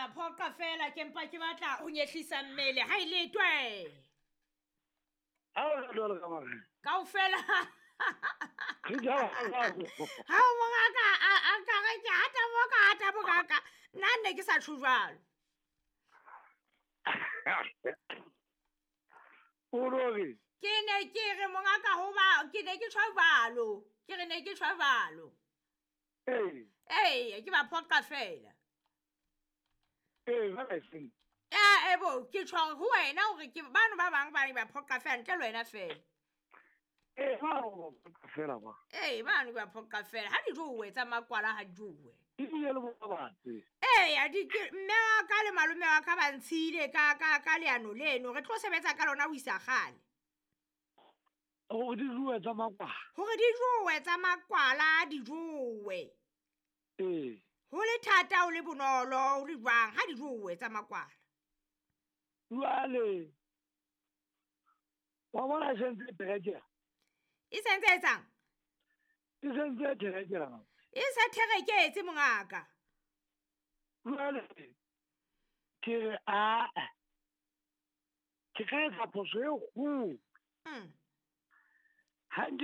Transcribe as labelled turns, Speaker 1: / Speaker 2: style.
Speaker 1: Ke ba phoqa fela, ke mpa ke batla ho nyehlisa mmele ha e letwe.
Speaker 2: Ha o jwalo ka mare.
Speaker 1: Kaofela.
Speaker 2: Re ja jwalo.
Speaker 1: Ha o mongaka a ka re ke hata mo ka hata mongaka. Nna ne ke sa tjho jwalo.
Speaker 2: O re
Speaker 1: Ke ne ke re mongaka ho ba ke ne ke tjho jwalo. Ke re ne ke tjho jwalo.
Speaker 2: Ee.
Speaker 1: Ee, ke ba phoqa fela.
Speaker 2: Ee, ba re seng.
Speaker 1: Ya ebo ke tjho ho wena hore ke bano ba bang ba ne ba phoqa fela ntle le wena fela.
Speaker 2: Ee, ba phoqa fela ba.
Speaker 1: Ee, bano ba phoqa fela. Ha di jowe tsa makwala ha di jowe.
Speaker 2: Di bile le bo batse.
Speaker 1: Ee, ya di ke mme wa ka le malome wa ka ba ntshile ka leano leno. Re tlo sebetsa ka lona ho isa kgale.
Speaker 2: Hore di jowe tsa makwala.
Speaker 1: Hore di jowe tsa makwala di jowe.
Speaker 2: Ee.
Speaker 1: Ho le thata ho le bonolo ho le jwang ha di jowe tsa makwala.
Speaker 2: Jwale wa bona e sentse e therekela.
Speaker 1: E sentse etsang?
Speaker 2: E sentse e therekela.
Speaker 1: E se thereketse mongaka.
Speaker 2: Jwale ke re a ke ka etsa phoso e kgolo. Ha nke